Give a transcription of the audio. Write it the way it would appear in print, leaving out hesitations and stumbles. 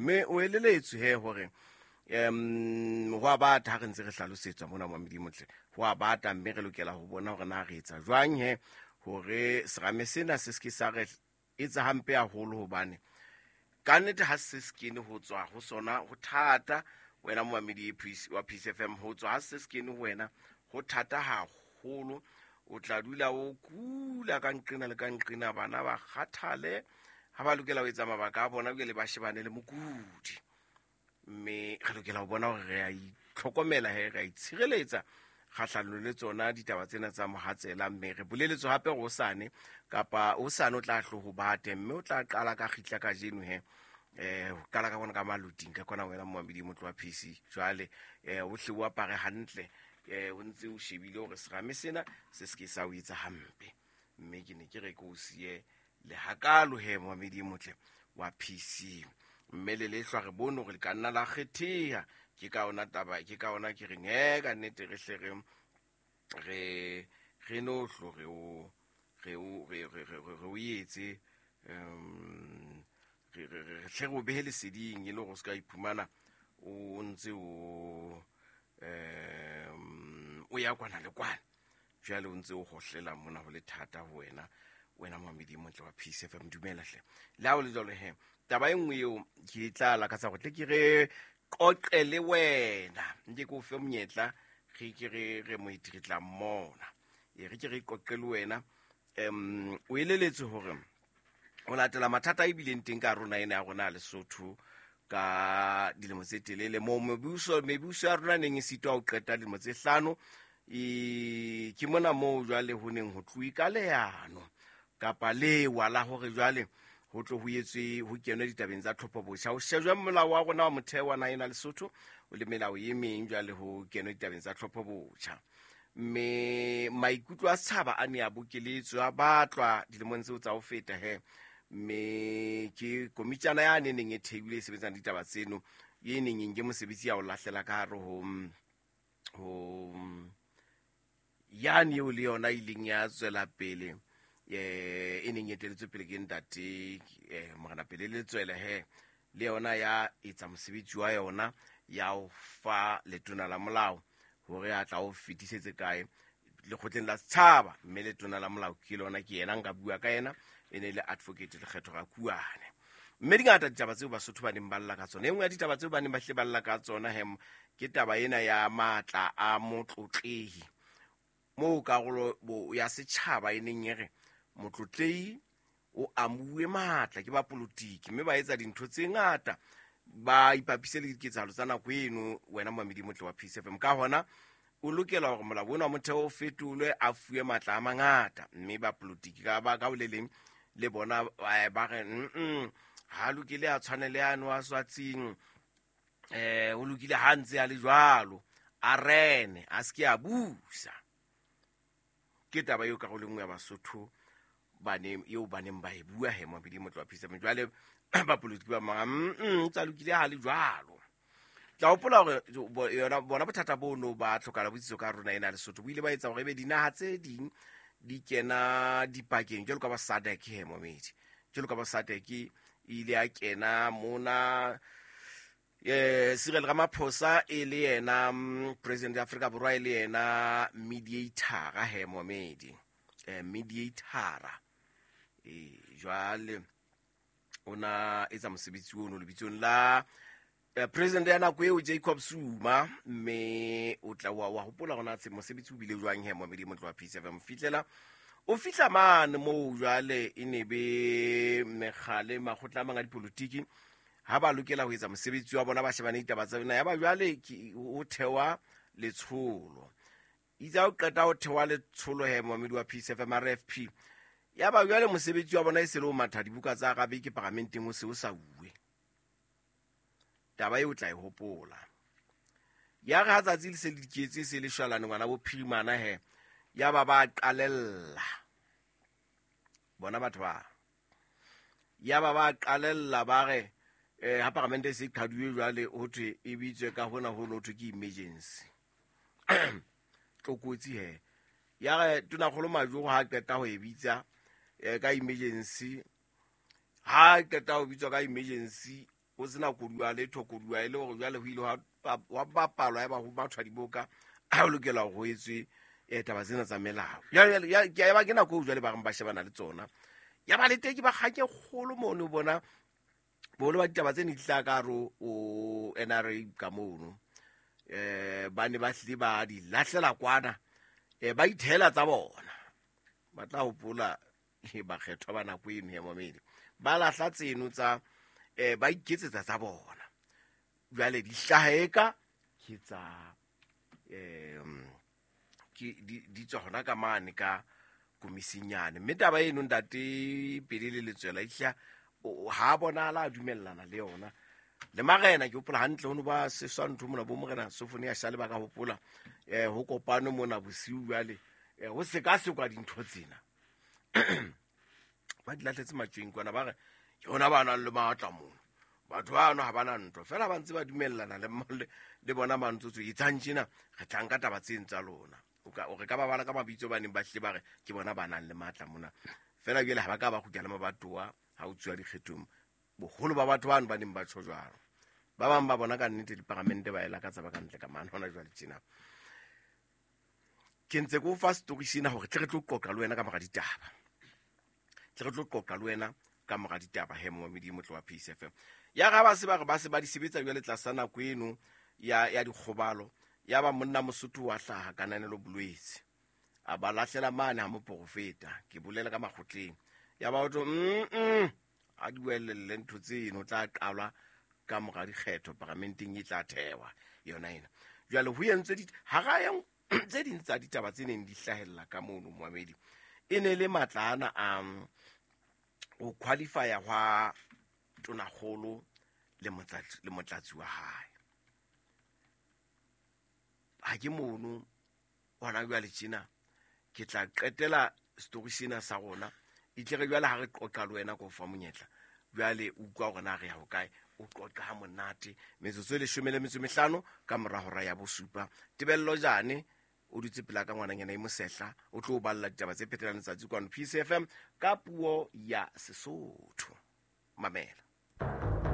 Mme o eleletswe he hore um ho a bata ha re ntse re hlalosetswa mona Mamedi Motle, ho a bata, mme re lokela ho bona hore na re etsa jwang he hore serame sena se seke sa re etsa hampe haholo, hobane ka nnete ha se se kene ho tswa ho sona ho thata. Wena momamedi wa Peace FM, ho tswa ha se se kene ho wena ho thata haholo. O tla dula o kula ka nqena le ka nqena, bana ba kgathale ha ba lokela ho etsa mabaka a bona, jwale ba shebane le mokudi. Mme re lokela ho bona hore re a itlhokomela he, re a itshireletsa kgahlanong le tsona ditaba tsena tsa mohatsela. Mme re boleletswe hape hore hosane kapa hosane o tla hlo ho bate, mme o tla qala ka kgitla kajeno he, ho qala ka bona ka maloting ka kona. Wena momamedi motlo wa PC, jwale o hle o apare hantle, o ntse o shebile hore serame sena se seke sa o etsa hampe. Mme ke ne ke re ke o siye le hakalo he, momamedi motle wa PC. Mme le lehlwa re bone hore le ka nna la kgetheha. Ke ka ona taba, ke ka ona ke reng he, ka nnete re hle re no hlo re o re o re re re re o etse, re re re hle re o behe leseding, e le hore o se ka iphumana o ntse o o ya kwana le kwana, jwale o ntse o hohlela mona ho le thata ho wena, wena momamedi motle wa Peace FM. Dumela hle. Le ha o le jwalo he, taba e nngwe eo ke tla lakatsa hore tle ke re qoqe le wena, nke ke o fe monyetla, re ke re re moeti re tla mmona, e re ke re qoqe le wena. O eleletswe hore ho latela mathata a ebileng teng ka rona ena ya rona ya Lesotho ka dilemo tse telele, moo mebuso ya rona neng e sitwa ho qeta dilemo tse 5, e ke mona moo jwale ho neng ho tluwe ka leano kapa lewa la hore jwale ho tlo ho etswe, ho kenwe ditabeng tsa tlhopho botjha, ho shejwe molao wa rona wa motheo wa naha ena Lesotho o le melao e meng, jwale ho kenwe ditabeng tsa tlhopho botjha. Mme maikutlo a setjhaba a ne a bokeletswe, a batlwa dilemong tseo tsa ho feta he, mme ke komitjana ya ne neng e theilwe e sebetsang ditaba tseno, e neng e nke mosebetsi ya o lahlela ka hare ho yane eo le yona ileng ya tswela pele, e neng e eteletswe pele ke ntate Morena Pele Letswele he, le yona ya etsa mosebetsi wa yona ya ho fa letona la molao hore a tla o fetisetse kae lekgotleng la setjhaba. Mme letona la molao ke lona, ke yena nka bua ka yena, e ne le Advocate Lekgetho Rakuane. Mme dingata ditaba tseo Basotho ba neng ba lla ka tsona. E nngwe ya ditaba tseo ba neng ba hle ba lla ka tsona he ke taba ena ya matla a motlotlehi, moo karolo ya setjhaba e neng e re motlotlehi o amuwe matla ke ba politiki, mme ba etsa dintho tse ngata ba ipapise le diketsahalo tsa nako eno. Wena momamedi motle wa Peace FM, ka hona o lokela hore molao ona wa motheo o fetolwe, a fuwe matla a mangata. Mme ba politiki ka ba ka ho le leng le bona ba re ha lokile a tshwane le ano a swatsing, o lokile ha ntse a le jwalo, a rene a se ke a busa. Ke taba eo karolo e nngwe ya Basotho bane eo ba neng ba e bua he, momamedi motle wa Peace FM. Jwale ba politiki ba mang tsa lokile ha le jwalo. Tla hopola hore yona bona bothata bono ba tlhokala botsitso ka rona ena Lesotho bo ile ba etsa hore ebe dinaha tse ding di kena dipakeng, jwalo ka ba SADC he, momamedi, jwalo ka ba SADC e ile ya kena mona, Cyril Ramaphosa e le yena president ya Afrika Borwa, e le yena mediator he, momamedi, mediator jwale o na etsa mosebetsi ono lebitsong la president ya nako eo Jacob Zuma. Mme o tla wa hopola hore na mosebetsi o bile jwang he, momamedi motle wa Peace FM. Fihlela o fihla mane moo jwale e ne be mekgale makgotla a mang a dipolotiki ha ba lokela ho etsa mosebetsi wa bona, ba shebane ditaba tsa bona, ya ba jwale ho thewa letsholo. Itse ha o qeta ho thewa letsholo he, momamedi wa Peace FM, RFP, ya ba jwale mosebetsi wa bona e se le ho matha dibuka tsa Arabic paramenteng, o se o sa uwe. Taba eo o tla e hopola. Ya re ha tsatsi le se le diketse, se le shwalane ngwana bo phirimana he, ya ba ba qalella bona batho ba, ya ba ba qalella ba re ha paramente e se qhaduwe jwale ho thwe e bitswe ka hona ho no thwe ke emergency tlokotsi he. Ya re Tonakgolo Majoro ha qeta ho e bitsa ka emergency, ha qeta ho bitswa ka emergency, Ho sena koduwa letho, koduwa e le hore jwale ho ile hwa bapalwa, ya ba ho mathwa diboka, ha o lokela hore ho etswe taba tsena tsa melao. Jwale, ke a ba ke nako eo jwale ba reng ba shebana le tsona. Ya ba le teng ke ba kgang e kgolo mono, bona boholo ba ditaba tse ne di tla ka hare ho NRA ka mono. Ba ne ba hlile ba di lahlela kwana, ba ithela tsa bona. Ba tla hopola bakgethwa ba nako eno ya mamedi, ba lahla tseno tsa ba iketsetsa tsa bona. Jwale di hlaha eka ke tsa ke di tswa hona ka mane ka komisinyane. Mme taba eno ntate Pele le Letswela ihla ha bonahala a dumellana le yona le marena. Ke hopola hantle ho no ba seswa ntho mona, bo morena Sofonia Shale ba ka hopola ho kopane mona bosiu. Jwale ho sekasekwa dintho tsena, ba di lahletse matjweng kwana, ba re ke hona ba nang le matla mono. Batho bano ha bana ntho fela, ba ntse ba dumellana le bona mantsotso etsang tjena, re tla nka taba tseng tsa lona. O re ka ba bala ka mabitso ba neng ba hlile ba re ke bona ba nang le matla mona. Fela jwale ha ba ka ba kgutla le mabatowa ha o tsuwa dikgethong. Boholo ba batho bano ba neng ba tjho jwalo, ba bang ba bona ka nnete diparamente ba e lakatsa ba ka ntle ka mane. Hona jwale tjena ke ntse ke o fa story sena hore tle re tlo qoqa le wena ka mora ditaba, tle re tlo qoqa le wena ka mora ditaba. He, momamedi motle wa Peace FM, ya ga ba se ba re ba se ba di sebetsa jwale tlasa nako eno ya dikgobalo. Ya ba monna Mosotho wa hlaha Kananelo Bolwetse, a ba lahlela mane ha moporofeta, ke bolela ka makgotleng. Ya ba otho a di welelle ntho tseno, tla qalwa ka mora dikgetho paramenteng e tla thewa yona ena. Jwale ho entswe hara ya tse ding tsa ditaba tse neng di hlahella ka mono, moamedi, e ne le matla ana a ho qualifya hwa tonakgolo le motlatsi wa hae. Ha ke mono hona jwale tjena, ke tla qetela story sena sa rona, itle re jwale ha re qoqa le wena ko fa monyetla. Jwale o utlwa hore na re ya hokae, o qoqa ha monate. Metsotso e 15 ka mora hora ya 7. Tebello Jane o dutse pela ka, ngwananyana e mosehla, o tlo o balla ditaba tse phetelang letsatsi kwano Peace FM ka puo ya Sesotho. Mamela.